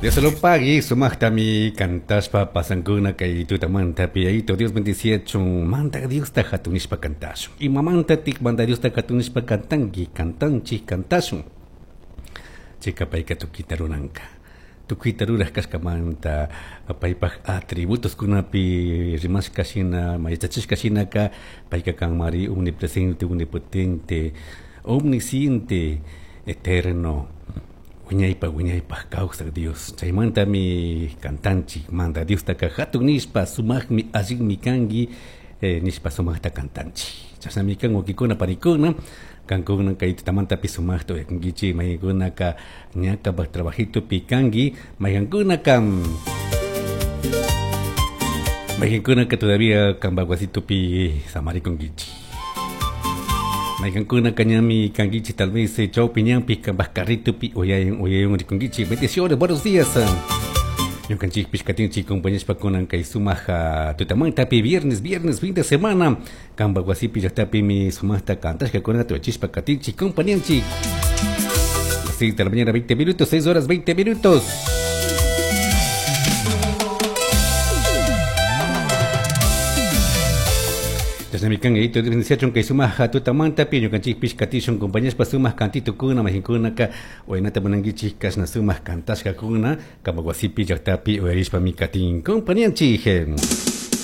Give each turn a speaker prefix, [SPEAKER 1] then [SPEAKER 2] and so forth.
[SPEAKER 1] Dios lo pagui, sumaqtami cantashpa pasankuna kay tutamantapi. Yayito Dios bendiciachun, Mandaj Diosta hatun nishpa cantashun. Imamantatik Mandaj Diosta hatun nishpa cantanki, cantanchik, cantashun? Chayka payka tukuyta ruranka. Tukuyta ruraj kashkamanta paypaj atributoskunapi rimashka shina, yachachishka shinaka payka kanmari omnipresente, omnipotente, omnisciente, eterno, wiñaypaj wiñaypaj kawsaj Dios. Chaymantami cantanchik Mandaj Diostaka hatun nishpa, sumaqmi, allinmi kanki nishpa sumaqta cantanchik. Chashnami kan, wawkikuna, panikuna, kankuna kay tutamantapi sumaqta uyakunkichik. Mayqankunaka ña kampak trabajitopi kanki, mayqankunaka todavía kampak wasitupi samarikunkichik. Mayqankunaka ñami kankichik tal vez chawpi ñanpi kampak carritopi uyayun uyayun rikunkichik. Bendiciones, buenos días. Ñukanchikpish katinchik compañashpa kunan kay sumaq tutamantapi, viernes, viernes, fin de semana. Kampak wasipi, llaqtapimi sumaqta cantashkakunata uyachishpa katinchik, compañanchik. Las 6 de la mañana, 20 minutos, 6 horas 20 minutos. Chashnami kan, Yayito bendiciachun kay sumaq tutamantapi. Ñukanchikpish katishun compañashpa sumaq cantitukuna. Mayqankunaka uyanata munankichik kashna sumaq cantashkakuna, kampak wasipi, llaqtapi uyarishpami katin compañanchik.